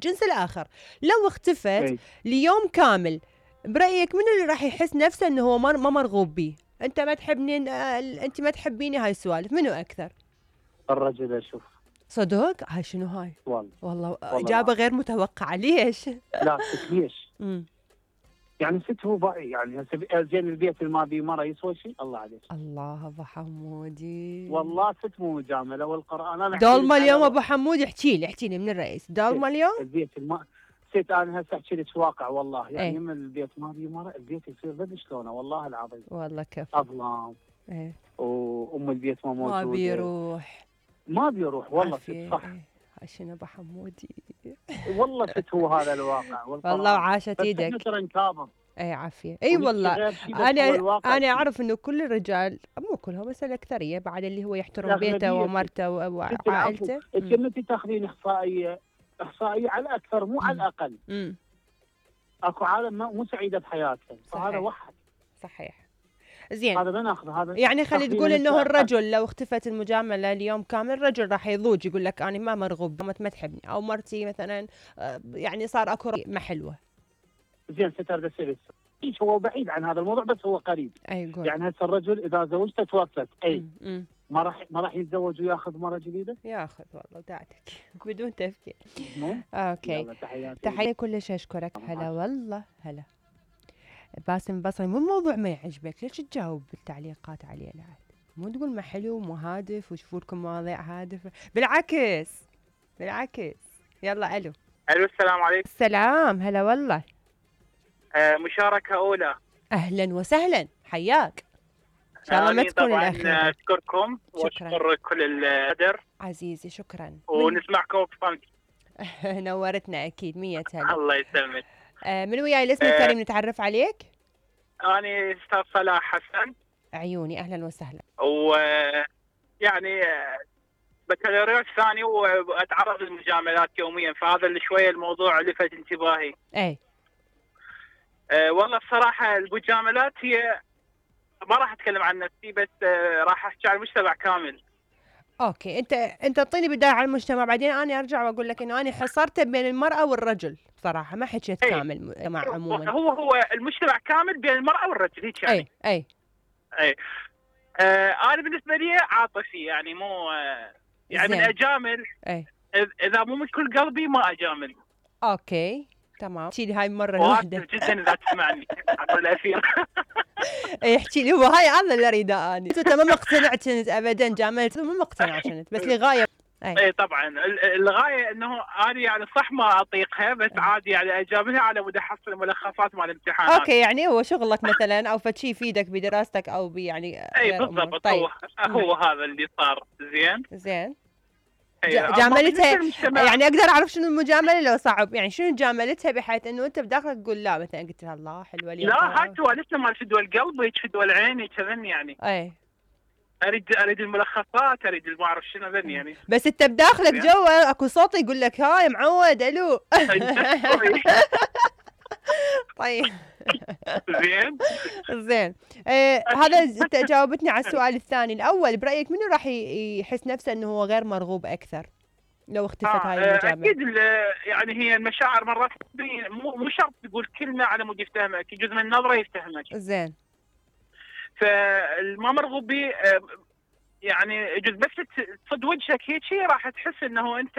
الجنس الآخر لو اختفت إيه. ليوم كامل، برأيك منو اللي راح يحس نفسه انه هو ما مرغوب بيه؟ انت ما تحبني، انت ما تحبيني، هاي السوالف منو اكثر؟ الرجل اشوف. صدق؟ هاي شنو هاي؟ والله اجابه غير متوقعه. ليش؟ لا ليش؟ يعني ست هو يعني زين البيت اللي ما بيه مره يسوى شيء؟ الله عليك. الله ابو حمودي، والله ست مو مجامله والقران. انا دولمه اليوم ابو حمود. احكي لي من الرئيس دولمه اليوم. البيت ست انا هسه احكي لك واقع والله، يعني من البيت ما بيه مره البيت يصير ذا شلونه والله العظيم. والله كيف اظلام. وام البيت ما موجوده، ما بيروح والله ست صح. شنو ابو حمودي والله ست هو هذا الواقع والله وعاشت ايدك. بس ترى نكابر. عافيه. والله انا اعرف انه كل الرجال، مو كلهم بس الاكثريه بعد، اللي هو يحترم بيته ومرته وعائلته. انت تاخذين احصائيه على الاكثر مو على الاقل. اكو عالم مو سعيده بحياتها، فهذا واحد صحيح. زين، هذا بناخذ هذا. يعني خلي تقول انه الرجل لو اختفت المجامله اليوم كامل، الرجل راح يضوج يقول لك انا ما مرغوب، ما تحبني، او مرتي مثلا يعني صار اكو ما حلوه. زين ستر بس هو بعيد عن هذا الموضوع بس هو قريب. يعني هسه الرجل اذا زوجته توفت ما راح يتزوج وياخذ مره جديده؟ ياخذ والله دعتك بدون تفكير. اوكي، تحيه كل شيء. اشكرك. هلا والله هلا. باسم بصري، مو الموضوع ما يعجبك ليش تجاوب بالتعليقات عليه؟ لا مو تقول ما حلو مو هادف وشوفوا لكم مواضيع هادفه، بالعكس. يلا الو السلام عليكم. السلام هلا والله. مشاركه اولى. اهلا وسهلا، حياك. ان شاء الله ما تكون الاخيره. اشكركم واشكر كل القدر عزيزي. شكرا. ونسمعكم بصمت. نورتنا اكيد. 100 هلا. الله يسلمك. من وياي الاسم الكريم نتعرف عليك؟ أنا أستاذ صلاح حسن. عيوني، أهلا وسهلا. ويعني بكالوريوس ثاني وأتعرض للمجاملات يوميا، فهذا اللي شوية الموضوع لفت انتباهي. والله بصراحة المجاملات هي، ما راح أتكلم عن نفسي بس راح أحكي عن المجتمع كامل. اوكي، انت اعطيني بدايه على المجتمع، بعدين انا ارجع واقول لك انه انا حصرته بين المراه والرجل بصراحه، ما حكيت كامل المجتمع عموما. هو المجتمع كامل بين المراه والرجل هيك يعني. اي انا بالنسبه لي عاطفي، يعني مو يعني من اجامل. اذا مو من كل قلبي ما اجامل. اوكي تمام. احكي لي هاي المره الواحده جدا اذا تسمعني على الاخير. احكي لي، هو هاي هذا اللي اريده اني. انت ما مقتنعت كنت ابدا جاملت؟ مو مقتنعه كنت بس لغايه. اي طبعا الغايه انه انا يعني صح ما اطيقها بس عادي يعني اجاملها على مود احصل ملخصات مال الامتحانات. اوكي، يعني هو شغلك مثلا او فشي يفيدك بدراستك او يعني اي بالضبط. طيب. هو هذا اللي صار. زين جاملتها يعني اقدر اعرف شنو المجامله لو صعب؟ يعني شنو جاملتها بحيث انه انت بداخلك تقول لا، مثلا قلت لها الله حلوه لي؟ لا هاي سوالفنا مال فدوى القلب هيك فدوى العين كذا يعني. اريد الملخصات، اريد ما اعرف شنو ذني يعني. بس انت بداخلك جوا اكو صوت يقول لك هاي معود الو. طيب زين. هذا انت جاوبتني على السؤال الثاني. الاول برايك منو راح يحس نفسه انه هو غير مرغوب اكثر لو اختفت هاي المجامله؟ اكيد يعني هي المشاعر مرات مو شرط تقول كلمه على مود يفتهمك، يجوز من نظره يفتهمك. زين. فالما مرغوب بي يعني يجوز بس تصد وجهك هيك شيء راح تحس انه انت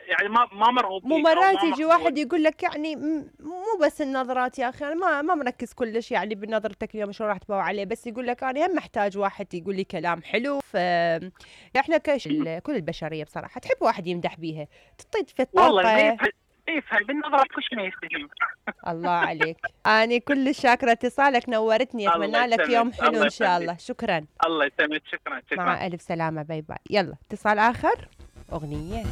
يعني ما مرغوب بيك. مو مرات يجي واحد يقول لك يعني مو بس النظرات يا اخي، انا ما مركز كلش يعني بنظرتك اليوم شلون راح تباوع عليه، بس يقول لك انا هم محتاج واحد يقول لي كلام حلو. احنا كل البشريه بصراحه تحب واحد يمدح بيها، تعطي في الطاقه. والله يفهم بالنظرة كلش ما يستجيب. الله عليك. أنا كل شاكرة اتصالك، نورتني. أتمنى لك يوم حلو إن شاء الله. شكرا. الله يسلمك. شكرا. مع ألف سلامة. باي باي. يلا اتصال آخر. أغنية.